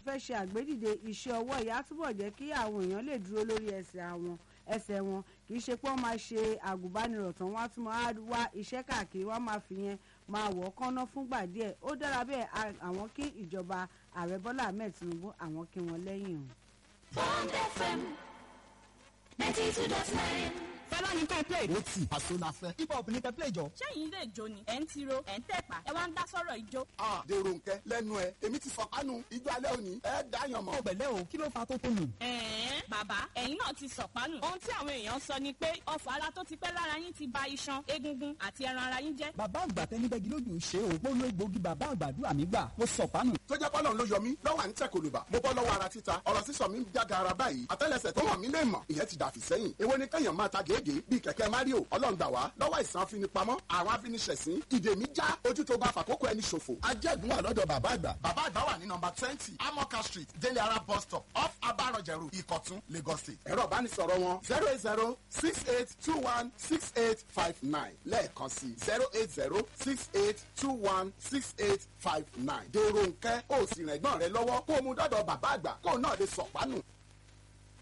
fẹ́ ṣe àgbédìde iṣẹ́ ọwọ́ ìyá túbọ̀ jẹ́ kí àwọn èèyàn lè dúró lórí ẹsẹ̀ àwọn ẹsẹ̀ wọn. Kì í ṣe pé wọ́n máa ṣe àgùnbánirọ̀ tán, wọ́n á tún máa wá iṣẹ́ káàkiri, wọ́n máa fi yẹn máa wọ̀ ọ́ kánná fúngbà díẹ̀. Ó dára bẹ́ẹ̀. Àwọn kí ìjọba Ààrẹ Bọ́lá Ahmed Tinubu, àwọn kí wọ́n lẹ́yìn o. Bond FM 92.9. Fẹlá ní kẹ́ play. Ó tì àṣọ la fẹ́. Hip hop ní kẹ́ play jọ. Ṣẹ́yìn lè jó ni, ẹ̀ ń tiro, ẹ̀ ń tẹ̀pá, ẹ wá ń dá sọ̀rọ̀ ijó. A dèrò nkẹ lẹ́nu ẹ, èmi ti sọ kánú ijó alẹ́ òní, ẹ dáyàn mọ́. Ọ̀bẹ̀lẹ̀ o, kí ló fa tó tó nù? Ẹ̀ẹ́n, bàbá, ẹ̀yin náà ti sọ̀pánù. Ohun tí àwọn èèyàn sọ ni pé ọfọ̀ ara tó ti pẹ́ lára yín ti ba iṣan, egungun àti ẹran ara yín jẹ́. Bàbá àgbà tẹnibẹ́gi lójú ṣe o. Mo lo egbòogi bàbá àgbàdua mi gbà. Mo sọ̀pánù. Tó jẹ́ pọ́lọ́n ló yọ mí lọ́wọ́ à ń tẹ̀ kòlùbà. Mo bọ́ lọ́wọ́ ara títa, ọ̀rọ̀ sísọ mi ń jága ara báyìí. Àtẹ́lẹsẹ̀ tó hàn mí lè mọ̀, ìyẹn ti dàfí sẹ́yìn. Èwo ni kẹ́yàn máa ta gègé bíi kẹ̀kẹ́ Mario? Ọlọ́run gbà wá lọ́wọ́ ìsàn afinipamọ́, àwọn afiniṣẹ̀sín. Ìdè mi já, ojú tó bá fàkókò ẹni ṣòfò. Ajẹ́gun wà lọ́dọ̀ bàbá àgbà. Bàbá àgbà wà ní nọmba 20, Amoka Street, Délé Ara bus stop, off Abarọ̀jẹ̀rù, Ìkọ̀tún, Lagos State. Ẹ̀rọ ìbánisọ̀rọ̀ wọn 08068216859. Lẹ́ẹ̀kan sí 08068216859. Dèrò nkẹ́, ó sì rẹ̀gbọ́n rẹ lọ́wọ́ kó o mú dọ́dọ̀ bàbá àgbà kó o náà lè sọ̀pánù.